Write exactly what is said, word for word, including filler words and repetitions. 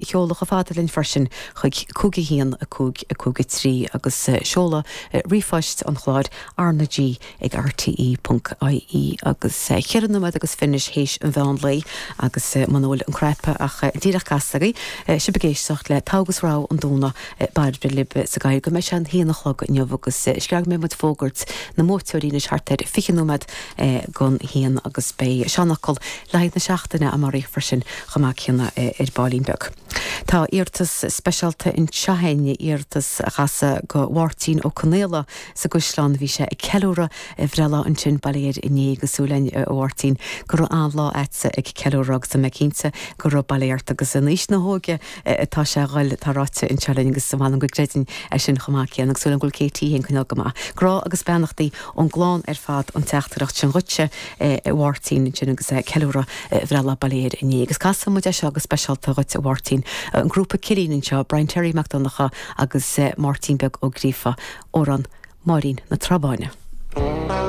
sheoladh chomh fada linn freisin chuig cúig a haon a cúig a cúig a trí agus seoladh ríomhphoist an chláir R na G ag RTE ponc IE agus ceithre nóiméad agus fiche théis an mheán lae agus muna bhfuil an cnaipe ach díreach casta agaibh sibh ag éisteacht le Togha agus Rogha an Domhnaigh Bairbre libh sa gcaoi go mbeidh sé an haon a chlog inniu agus screag mé muid fógairt na mbuaiteoirí anois thart ar fiche nóiméad don haon agus beidh seanfhocal le haghaidh na seachtaine amárach freisin chomh maith céanna ar baillín beag. Tá iarratas speisialta anseo againn, iarratas a casadh go Mháirtín Ó Conaola sa gCaisleán. Bhí sé ag ceiliúradh a bhreithlá ansin bail ó Dhia air inné agus súil againn a Mháirtín go raibh an-lá agatsa ag ceiliúradh agus tá mé cinnte go raibh bail ó Dhia ort agus in aois na hóige atá sé a dhul tá ráite anseo linn agus m'anam go gcreidim é sin chomh maith céanna agus súil agam go bhfuil Katie féin coinneáil go maith. Grá agus beannachtaí ón gclann ar fad an teachtaireacht sin dhuitse a Mháirtín ansin agus ceiliúradh a bhreithlá bail ó Dhia air inné. Agus casfaidh muid é seo go speisialta dhuit a Mháirtín, an grúpa Cillín anseo, Brian Terry Mac Donncha agus Máirtín Beag Ó Gríofa, amhrán Máirín na Trá Báine.